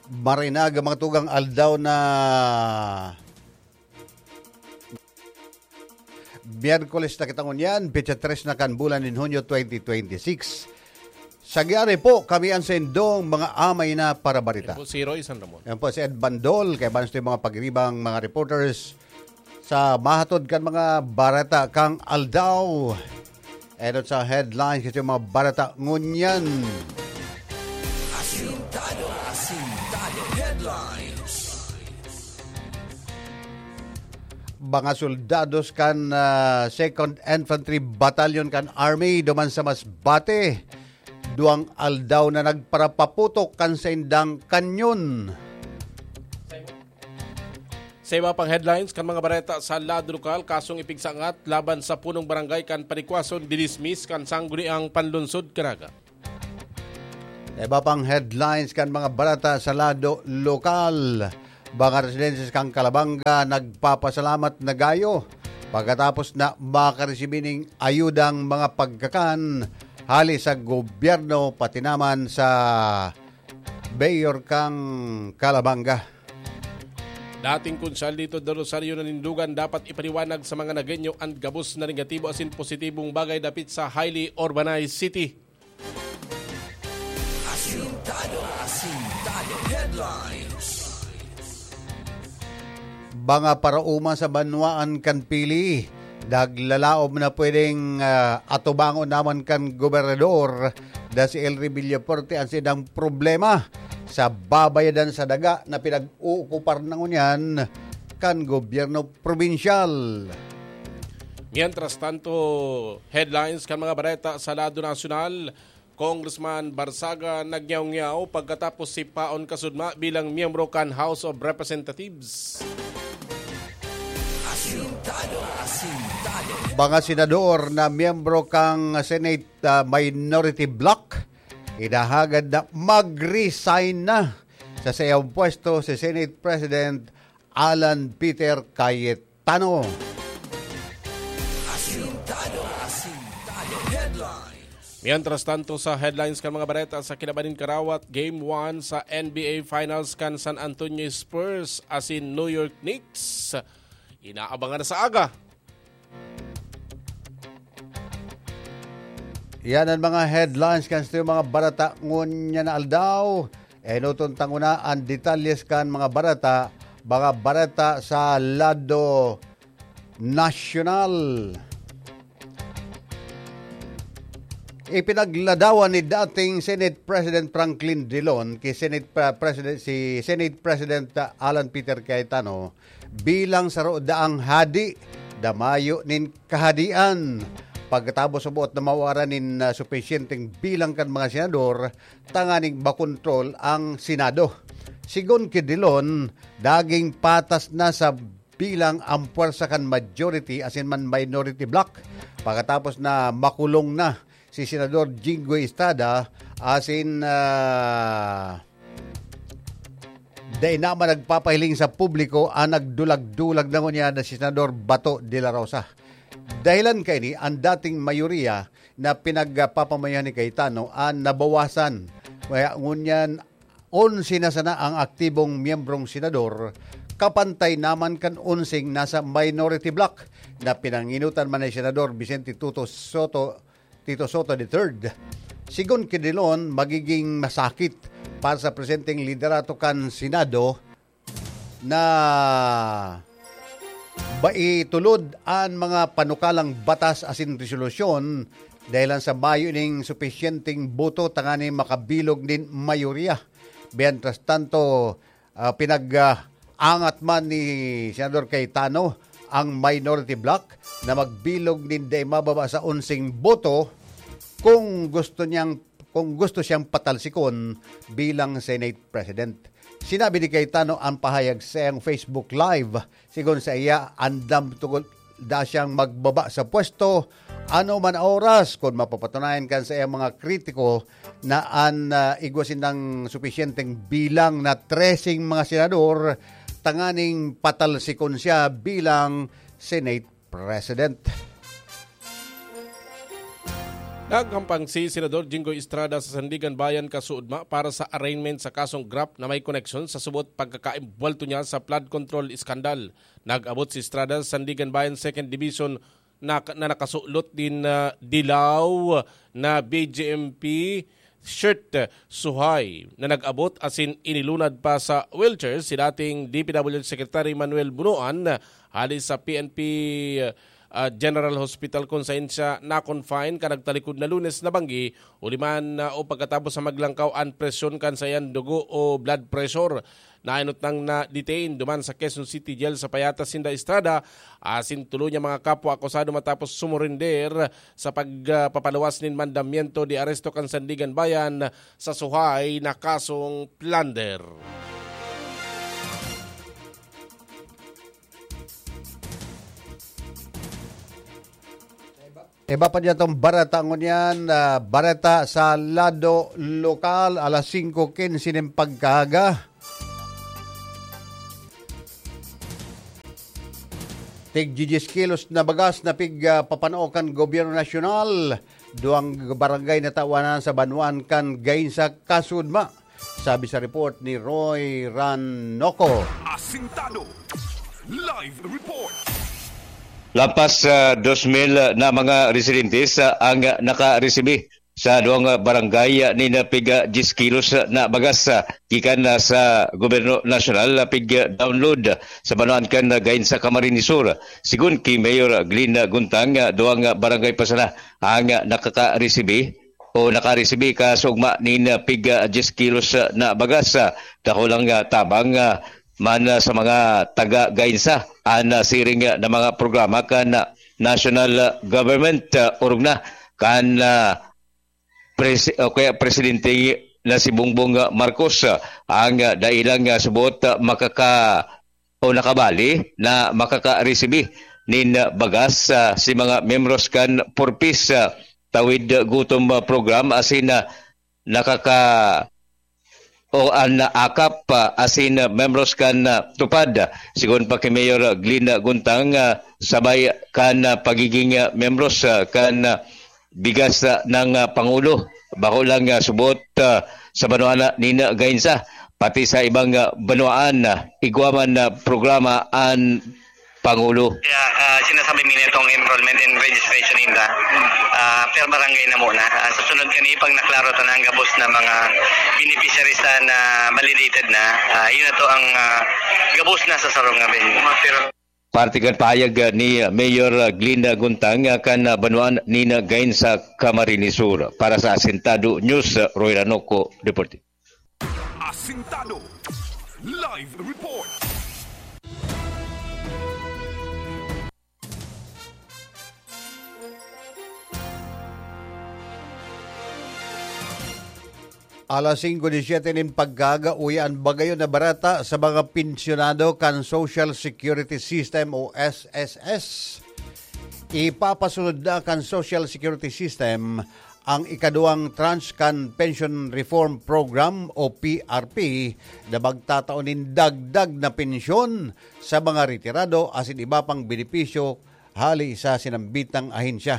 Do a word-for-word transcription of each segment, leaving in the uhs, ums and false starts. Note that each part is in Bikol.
Marinag ang mga tugang aldaw na Miyerkules na kita ngunyan, petsa tres na kan bulan nin Hunyo twenty twenty-six. Sa giyari po, kami ang sendong mga amay na parabarita. Yan po si Roy San Ramon. Yan po si Ed Bandol, kay banos yung mga pagiribang mga reporters sa mahatod kan mga barata kang aldaw. Edot sa headlines kasi yung mga barata ngunyan. Asintado, asintado. Headlines. Mga soldados kan, ah, Second Infantry Battalion kan Army duman sa Masbate, duwang aldaw na nagparapaputok kan saindang kanyon. Sa iba pang headlines kan mga bareta sa lado lokal, kasong ipigsangat laban sa punong barangay kan Panikwason, dinismiss kan Sangguniang Panlunsod Caraga. Iba pang headlines kan mga barata sa lado lokal. Mga residentes kan Calabanga nagpapasalamat na gayo pagkatapos na makaresibi ning ayudang mga pagkakan hali sa gobyerno pati naman sa mayor kan Calabanga. Dating Konsehal Lito de Rosario nanindugan dapat ipaliwanag sa mga Nagueño an gabos na negatibo asin positibong bagay dapit sa highly urbanized city. Asintado, asintado. Headlines. Mga paraoma sa banwaan kan Pili, naglalaom na pwedeng, ah, atubangon naman kan gobernador na si Elry Villafuerte ang sidang problema sa babayadan sa daga na pinag-uukupar na ngunyan kan gobyerno probinsyal. Mientras tanto, headlines kan mga bareta sa lado nasyonal, Congressman Barzaga nagyaw-nyaw pagkatapos sipaon kasudma bilang miyembro kan House of Representatives. Asintado, asintado. Mga senador na miyembro kan Senate, ah, Minority Bloc, hinahagad na mag-resign na sa saiyang pwesto si Senate President Alan Peter Cayetano. Asintado, asintado. Headlines. Mientras tanto, sa headlines kan mga bareta sa kinaban nin karawat, Game one sa N B A Finals kan San Antonio Spurs asin New York Knicks. Inaabangan na sa aga. Yan ang mga headlines kan sa mga barata ngunyan na aldaw. Enoton ta nguna an detalyes kan mga barata, mga barata sa lado nasyonal. Ipinagladawan ni dating Senate President Franklin Drilon ki Senate Pre-, President, si Senate President, ah, Alan Peter Cayetano bilang saro daang hadi na mayo nin kahadian. Pagkatapos sa buot na mawaran nin, ah, supisyenteng bilang kan mga senador, tanganing makontrol ang Senado. Sigon ki Drilon, naging patas na sa bilang ang pwersa kan majority asin man minority bloc pagkatapos na makulong na si Senador Jinggoy Estrada asin, ah, dai na man nagpapahiling sa publiko ang nagdulag-dulag na ngunyan na si Senador Bato de la Rosa. Dahilan kaini, ang dating mayoriya na pinagpapamayohan ni Cayetano ang nabawasan. Kaya ngunyan, onse na sana ang aktibong miyembrong senador, kapantay naman kan onseng nasa minority bloc na pinanginutan man ni Senador Vicente Tuto Soto, Tito Soto the third. Sigon ki Drilon, magiging masakit para sa presenteng liderato kan Senado na maitulod an mga panukalang batas asin resolusyon dahil lang sa mayo ning supisyenteng boto tanganing makabilog nin mayoriya. Mientras tanto, ah, pinag-, ah, angat man ni Senador Cayetano ang minority bloc na magbilog nin dai mababa sa onseng boto kung gusto niyang, kung gusto siyang patalsikon bilang Senate President. Sinabi ni Cayetano ang pahayag sa iyang Facebook Live. Sigon sa iya, andam tugod da siyang magbaba sa pwesto ano man oras kun mapapatunayan kan sa iyang mga kritiko na an, ah, igwa sindang supisyenteng bilang na treseng mga senador tanganing patalsikon siya bilang Senate President. Naghampang si Senador Jinggoy Estrada sa Sandiganbayan Kasuodma para sa arraignment sa kasong graft na may koneksyon sa subot pagkakaimbwelto niya sa flood control scandal. Nag-abot si Estrada sa Sandiganbayan Second Division na, na nakasulot nin, ah, dilaw na B J M P shirt, suhay na nag-abot asin inilunad pa sa wheelchair si dating D P W H Secretary Manuel Bunuan hali sa P N P, ah, General Hospital, kun saen siya na-confine kan nagtalikod na Lunes na banggi, huli man, ah, o pagkatapos sa maglangkaw an presyon kan saiyang dugo o blood pressure. Nainot nang na-detain duman sa Quezon City Jail sa payatas sinda Estrada asin tulo niya mga kapwa akusado matapos sumurender sa pagpapaluwas nin mandamiento de aresto kan Sandiganbayan sa suhay na kasong plunder. Iba pa niya tong bareta ngunyan, ah, bareta sa lado lokal, alas singko quince nin pagkaaga. Tig diyes kilos na bagas na pig, ah, papanao kan Gobyerno Nasyonal. Duwang barangay na tawanan sa banwaan kan Gainsa, Kasudma. Sabi sa report ni Roy Ranoco. Asintado. Live report. Lampas sa dos mil na mga residentes, ah, ang nakaresibi sa duwang barangay, ah, nin pig, ah, diyes kilos na bagas, ah, gikan na sa Gobyerno Nasyonal, ah, pig, ah, download sa banwaan kan, ah, Gainsa, Camarines Sur. Sigon ki Mayor Glenn Guntang, ah, duwang barangay pa sana ang, ah, nakakaresibi o nakaresibi ka sa ugma nin, ah, pig, ah, diyes kilos, ah, na bagas, ah, dakulang, ah, tabang, ah, man, ah, sa mga taga Gainsa an, ah, siring, ah, na mga programa kan, ah, national, ah, government, ah, orog na kan, ah, presi-, o kaya presidente na si Bongbong, ah, Marcos, ah, ang, ah, dailang, ah, subot, ah, makaka-, o nakabali na makakaresibi nin bagas, ah, si mga miyembros kan Purpose, ah, Tawid Gutom, ah, Program asin, ah, nakaka-, o an akap, ah, asin, ah, miyembros kan, ah, TUPAD. Sigon pa ki Mayor Glenn Guntang, ah, sabay kan, ah, pagiging, ah, miyembros, ah, kan, ah, bigas, ah, ng, ah, Pangulo. Bako lang, ah, subot, ah, sa banwaan na nin Gainsa, pati sa ibang, ah, banwaan, ah, igwa man na programa an Pangulo. Kaya, ah, sinasabi mi nitong enrollment and registration ninda, ah, per barangay na muna. Ah, sa sunod kani, pag naklaro ta na ang gabos na mga beneficiaries na, na validated na, ah, yun na to ang, ah, gabos na sa sarong nga venue. Pero Parte kan pahayag, ah, ni Mayor, ah, Glenn Guntang, ah, kan, ah, banwaan nin Gainsa, Camarines Sur. Para sa Asintado News, ah, Roy Ranoco, reporting. Asintado. Live report. Alas singko disiyete nin pagkaaga, uya an bagayon na bareta sa mga pensyonado kan Social Security System o S S S. Ipapasunod na kan Social Security System ang ikaduwang tranche kan Pension Reform Program o P R P na magtatao nin dagdag na pensyon sa mga retirado asin iba pang benepisyo hali sa sinambitang ahensya.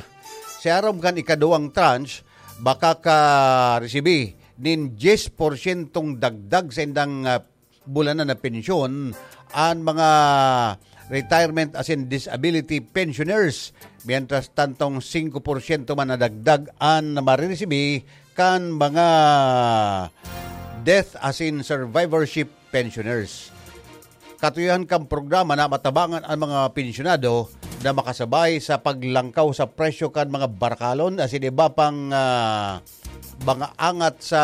Sa aram kan ikaduwang tranche, makaka-resibi nin diyes porsyentong dagdag sa indang, ah, bulanan na pensyon an mga retirement asin disability pensioners, mientras tantong singko porsyento man na dagdag an mariresibi kan mga death asin survivorship pensioners. Katuyohan kan programa na matabangan an mga pensyonado na makasabay sa paglangkaw sa presyo kan mga barakalon asin iba pang, ah, mga angat sa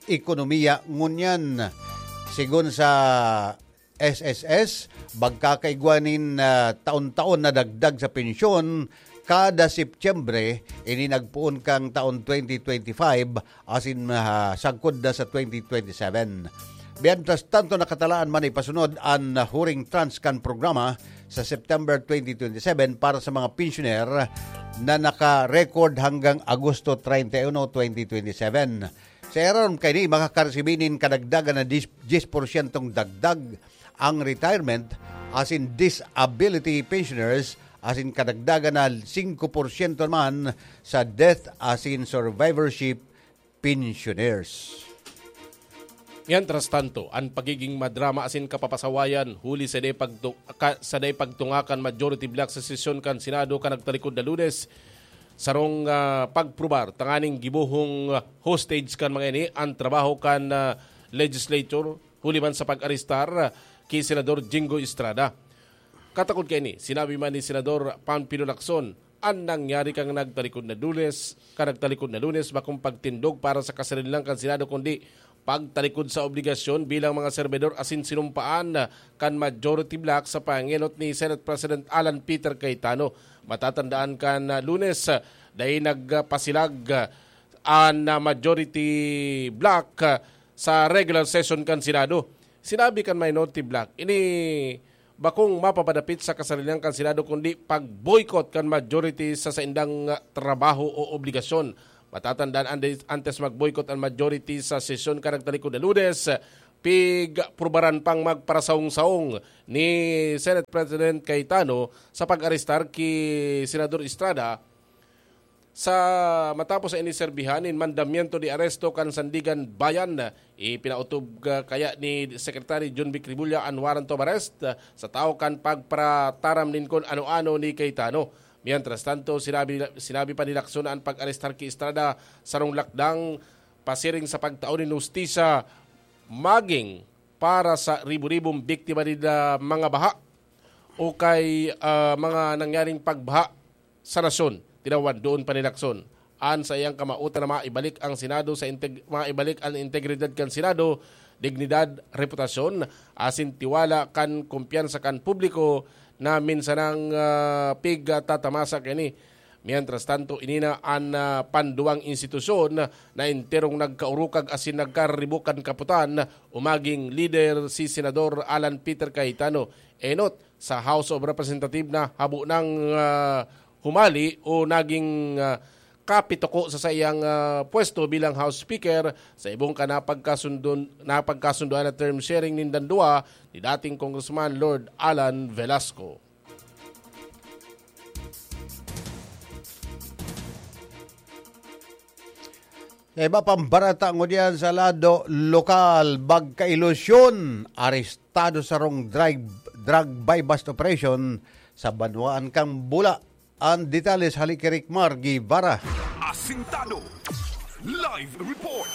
ekonomiya ngunyan. Sigon sa S S S, magkakaigwa nin, ah, taon-taon na dagdag sa pensyon kada Setyembre, ini nagpoon kan taon twenty twenty-five asin, ah, sagkod na sa twenty twenty-seven. Mientras tanto, nakatalaan man ipasunod an huring tranche kan programa sa September twenty twenty-seven para sa mga pensyoner na naka-record hanggang Agosto treinta y uno, twenty twenty-seven. Sa irarom kaini, makakaresibi nin kadagdagan na diyes, diyes porsyentong dagdag ang retirement asin disability pensioners asin kadagdagan na singko porsyento naman sa death asin survivorship pensioners. Mientras tanto, an pagiging madrama asin kapapasawayan huli sa dai pagtu-, ka-, sa dai pagtunga kan majority bloc sa sesyon kan Senado kan nagtalikod na Lunes, sarong, ah, pagprobar tanganing gibohong, ah, hostage kan mga ini an trabaho kan, ah, legislature huli man sa pag-arestar, ah, ki Senador Jingo Estrada. Katakod kaini, sinabi man ni Senador Panfilo Lacson, an nangyari kan nagtalikod na Lunes, kan nagtalikod na Lunes, bakong pagtindog para sa kasarilan kan Senado, kundi pagtalikod sa obligasyon bilang mga serbidor asin sinumpaan kan majority bloc sa pangenot ni Senate President Alan Peter Cayetano. Matatandaan kan Lunes, dai nagpasilag an majority bloc sa regular session kan Senado. Sinabi kan minority bloc, ini bakong mapapadapit sa kasarilan kan Senado, kundi pag-boycott kan majority sa saindang, ah, trabaho o obligasyon. Matatandaan, ande-, antes mag-boycott an majority sa sesyon kan nagtalikod na Lunes, pigprubaran pang magparasawong-sawong ni Senate President Cayetano sa pag-arestar ki Senador Estrada. Sa matapos sa iniserbihan nin mandamiento de aresto kan Sandiganbayan, ipinautob, ah, kaya ni Secretary Jonvic Remulla an warrant of arrest, ah, sa tawo kan pagparataram nin kun ano-ano ni Cayetano. Mientras tanto, sinabi, sinabi pa ni Lacson na an pag-arestar ki Estrada sarong lakdang pasiring sa pagtao nin hustisya maging para sa ribo-ribong biktima nin, ah, mga baha o kay, ah, mga nangyaring pagbaha sa nasyon, tinawan doon pa ni Lacson an saiyang kamautan na maibalik ang Senado sa integ-, maibalik ang integridad kan Senado, dignidad, reputasyon, asin tiwala kan kumpiyansa kan publiko na minsanang, ah, pigtatamasa kini. Mientras tanto, ini na an, ah, panduwang institusyon na enterong nagkaurukag asin nagkaribok kan kaputan o maging lider si Senador Alan Peter Cayetano. Enot, sa House of Representative na habo nang, ah, humali o naging, ah, kapituko sa saiyang, ah, pwesto bilang House Speaker sa ibong kan napagkasundon-, napagkasundoan na term sharing nindang duwa ni dating Congressman Lord Alan Velasco. Sa iba pang barata ngunyan sa lado lokal, magkailusyon, arestado sarong drug, drug buy-bust operation sa banwaan kan Bula. An detalye sa hali ki Rickmar Guevara. Asintado. Live report.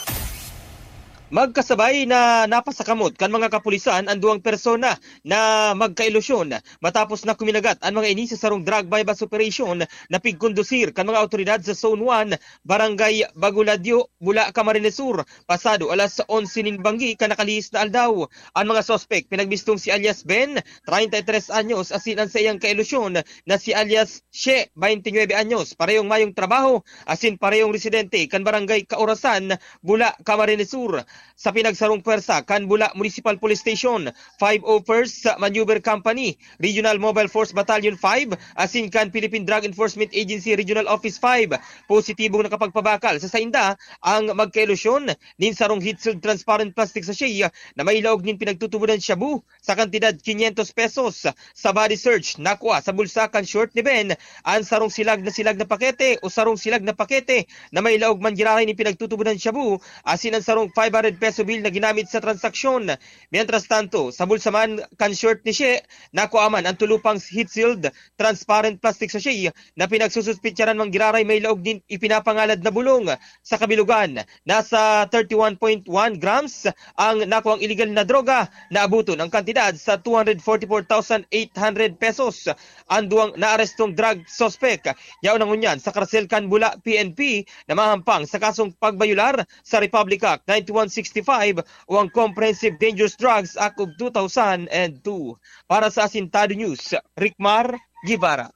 Magkasabay na napasakamot kan mga kapulisan an duwang persona na magkailusyon matapos na kuminagat an mga ini sa sarong drug buy-bust operation na pigkondusir kan mga awtoridad sa Zone one, Barangay Baguladyo, Bula, Camarines Sur, pasado alas onse nin banggi kan nakalihis na aldaw. An mga suspek pinagbistong si alias Ben, treinta y tres anyos, asin an saiyang kailusyon na si alias She, twenty-nuebe anyos, parehong mayong trabaho, asin parehong residente kan Barangay Kaurasan, Bula, Camarines Sur. Sa pinagsarong pwersa kan Bula Municipal Police Station, five oh first Maneuver Company, Regional Mobile Force Battalion five, asin kan Philippine Drug Enforcement Agency Regional Office five, positibong nakapagpabakal sa sainda ang magkailusyon nin sarong heat-sealed transparent plastic sachet na may laog nin pinagtutubodan shabu sa kantidad quinientos pesos. Sa body search, nakua sa bulsa kan short ni Ben an sarong silag na silag na pakete o sarong silag na pakete na may laog man giraray nin pinagtutubodan shabu, asin an sarong five hundred peso bill na ginamit sa transaksyon. Mientras tanto, sa bulsa man kan short ni She, nakua man an tulo pang heat-sealed transparent plastic sachet na pinagsususpitsaran man giraray may laog nin ipinapangalad na bulong. Sa kabilugan, nasa thirty-one point one grams ang nakuang iligal na droga na abuton ang kantidad sa two hundred forty-four thousand eight hundred pesos. An duwang naarestong drug suspect, yaon na ngunyan sa karasel kan Bula P N P na mahampang sa kasong pagbayular sa Republic Act ninety-one sixty-five o ang Comprehensive Dangerous Drugs Act of two thousand two. Para sa Asintado News, Rickmar Guevara.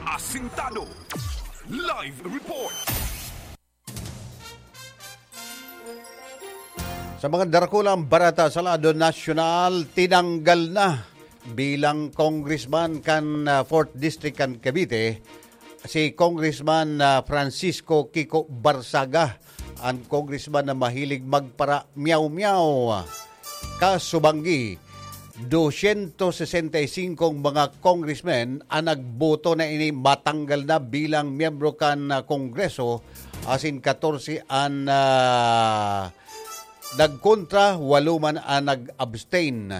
Asintado. Live report. Sa mga darakulang barata sa lado nasyonal, tinanggal na bilang congressman kan, ah, fourth District kan Cavite si Congressman, ah, Francisco Kiko Barzaga, an congressman na mahilig magpara-meow-meow. Kasubanggi, dosyentos sesenta y singko mga congressmen ang nagboto na ini matanggal na bilang miyembro kan, ah, Kongreso, asin katorse an, ah, nagkontra, walo man an nag-abstain.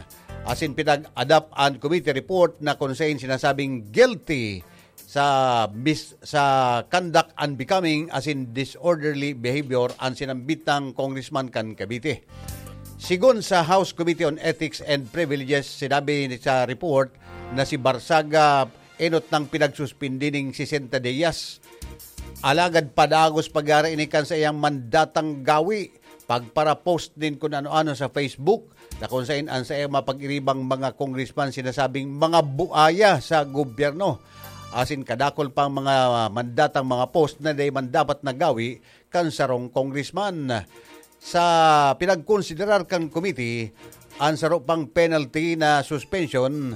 Asin pinag-adopt an committee report na kun saen sinasabing guilty sa mis-, sa conduct unbecoming asin disorderly behavior an sinambitang congressman kan Cavite. Sigon sa House Committee on Ethics and Privileges, sinabi sa report na si Barsaga enot nang pinagsuspindi ning sesenta dias. Alagad padagos pagyari ini kan saiyang mandatang gawi, pagparapost nin kun ano-ano sa Facebook, na kun saen an saiyang mapag-iribang mga congressman sinasabing mga buaya sa gobyerno. Asin kadakul pang mga mandatang mga post na dai man dapat nagawi kan sarong congressman. Sa pinagkonsiderar kan committee, an saro pang penalty na suspension,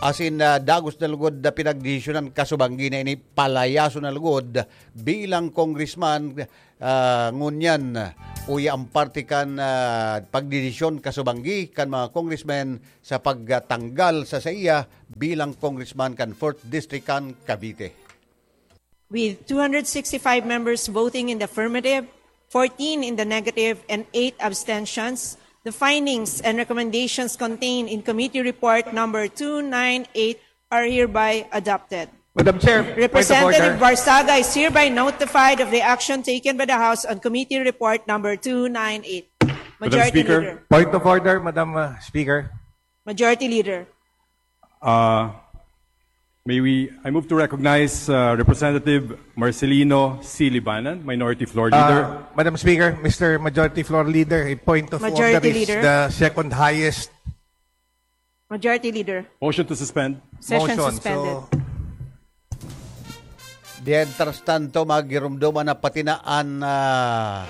asin, ah, dagos na lugod na pinagdesisyonan kasubanggi na ini palayason na lugod bilang congressman, ah, ngunyan, uya ang parte kan, ah, pagdesisyon kasubanggi kan mga congressmen sa pagtanggal sa saiya bilang congressman kan fourth District kan Cavite. With two hundred sixty-five members voting in the affirmative, fourteen in the negative, and eight abstentions, the findings and recommendations contained in Committee Report Number two nine eight are hereby adopted. Madam Chair, point of Representative order. Barsaga is hereby notified of the action taken by the House on Committee Report Number two nine eight. Madam Majority Speaker. Leader. Point of order, Madam, uh, Speaker. Majority Leader. Uh, may we, I move to recognize, uh, Representative Marcelino C. Libanan, Minority Floor Leader. Uh, Madam Speaker, Mister Majority Floor Leader, a point of Majority order is Leader. The second highest. Majority Leader. Motion to suspend. Session Motion, suspended. So, Mientras tanto, magirumdoman na pati na an, ah,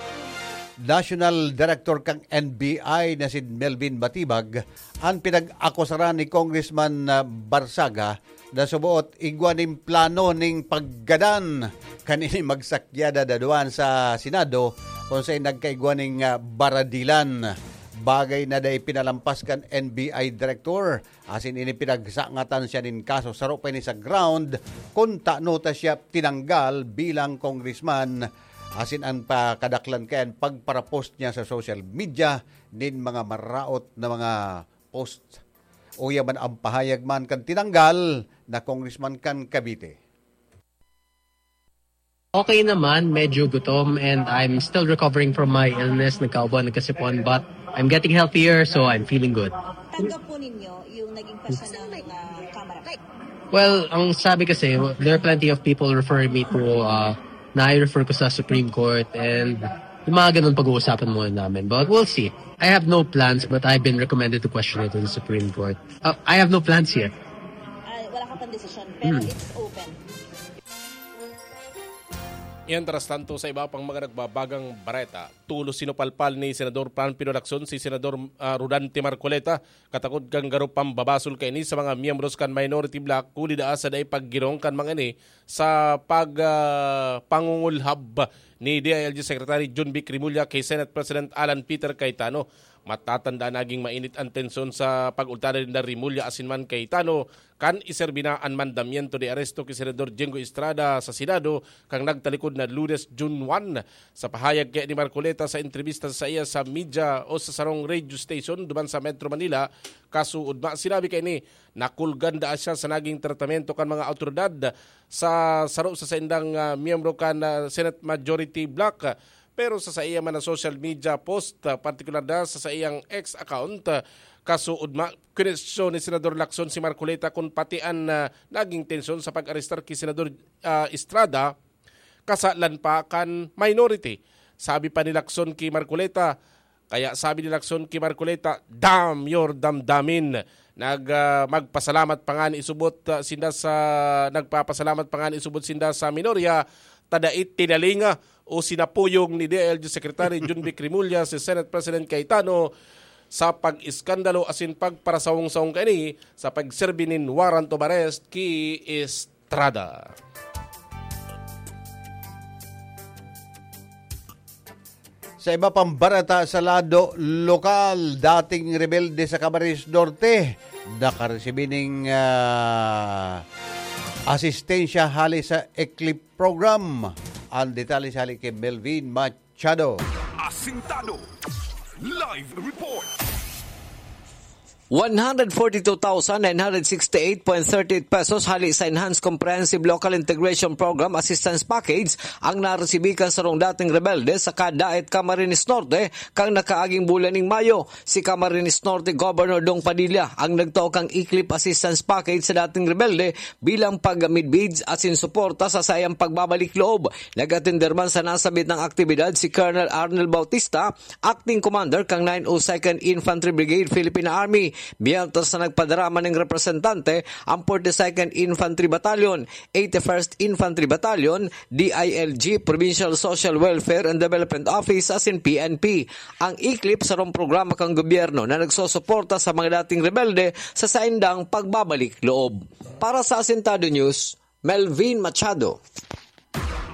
National Director kan N B I na si Melvin Batibag, an pinag-akusaran ni Congressman, ah, Barsaga na suboot igwa nin plano ning paggadan kan ini magsakyada daduan sa Senado, kun saen nagkaigwa ning, ah, baradilan. Bagay na dai pinalampas kan N B I Director. Asin ini pinagsangatan siya nin kaso, saro pa ini sa ground kun tano ta siya tinanggal bilang congressman. Asin an pakadaklan kaiyan, pagparapost niya sa social media nin mga maraot na mga post. Uya man an pahayag man kan tinanggal na congressman kan Cavite. Okay naman, medyo gutom, and I'm still recovering from my illness. Nagkaubo, nagkasipon, but I'm getting healthier, so I'm feeling good. Tanggap po ninyo yung naging pasya ng, ah, Kamara? Well, ang sabi kasi, there are plenty of people referring me to, uh, na i-refer ko sa Supreme Court, and yung mga ganun pag-uusapan muna namin. But we'll see. I have no plans, but I've been recommended to question it in the Supreme Court. Uh, I have no plans yet. Ah, wala ka pang desisyon, pero Hmm. it's open. Mientras tanto, sa iba pang mga nagbabagang bareta, tolos sinupalpal ni Senador Pamphilo Lacson si Senador, ah, Rodante Marcoleta, katakod kan garo pambabasol kaini sa mga miyembros kan minority bloc, huli daa sa dai paggirong kan mga ini sa pag, ah, pangungulhab ni D I L G Secretary John Vic Remulla kay Senate President Alan Peter Cayetano. Matatanda, naging mainit an tensyon sa pag-ultana ninda Remulla asin man Cayetano kan iserbi na an mandamiento de aresto ki Senador Jinggoy Estrada sa Senado kan nagtalikod na Lunes, June one. Sa pahayag kaya ni Marcoleta sa entrebista sa iya sa media o sa sarong radio station duman sa Metro Manila, kasuodma, sinabi kaini, nakulgan daa siya sa naging tratamiento kan mga awtoridad sa saro sa saindang, ah, miyembro kan, ah, Senate Majority Bloc. Pero sa saiya man na social media post, ah, partikular na sa saiyang X account, ah, kasuodma, kinestisyon ni Senador Lacson si Marcoleta kun pati an, ah, naging tensyon sa pag-arestar ki Senador, ah, Estrada, kasalan pa kan minority. Sabi pa ni Lacson ki Marcoleta, kaya sabi ni Lacson ki Marcoleta, "Damn your damdamin." Nag, ah, magpasalamat pa ngani isubot, ah, sinda sa, nagpapasalamat pa ngani isubot sinda sa minorya, ta dai tinalinga o sinapuyong ni D I L G Secretary John Vic Remulla si Senate President Cayetano sa pag-iskandalo asin pagparasawong-sawong kaini sa pagserbi nin warrant of arrest ki Estrada. Sa iba pang barata sa lado lokal, dating rebelde sa Camarines Norte, nakaresibi ning, ah, asistensya hali sa ECLIP program. Ang detalye hali kay Melvin Machado. Asintado. Live report. One hundred forty-two thousand nine hundred sixty-eight point thirty-eight pesos hali sa Enhanced Comprehensive Local Integration Program Assistance Package ang naresibi kan sarong dating rebelde sa Daet, Camarines Norte, kan nakaaging bulan ning Mayo. Si Camarines Norte Governor Dong Padilla ang nagtao kan ECLIP Assistance Package sa dating rebelde bilang pagmidbid asin suporta sa saiyang pagbabalik loob. Nag-atender man sa nasabit na aktibidad si Colonel Arnel Bautista, Acting Commander kan nine oh second Infantry Brigade, Philippine Army, mientras na nagpadarama ning representante ang forty-second Infantry Battalion, eighty-first Infantry Battalion, D I L G, Provincial Social Welfare and Development Office asin P N P. Ang ECLIP sarong programa kan gobyerno na nagsusuporta sa mga dating rebelde sa saindang pagbabalik loob. Para sa Asintado News, Melvin Machado.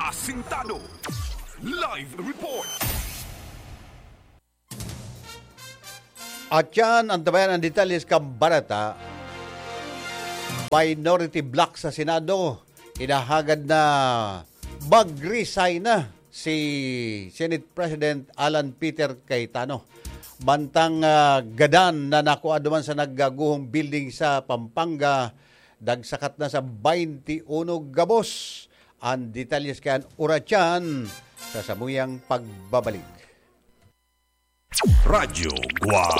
Asintado. Live report. At yan, antabayan ang detalye kan barata. Minority bloc sa Senado, hinahagad na mag-resign na si Senate President Alan Peter Cayetano. Mantang, ah, gadan na nakua duman sa nagkaguhong building sa Pampanga, dagsakat na sa twenty-one gabos. Ang detalye kan Oratyan sa samuyang pagbabalik. Radyo Guwang.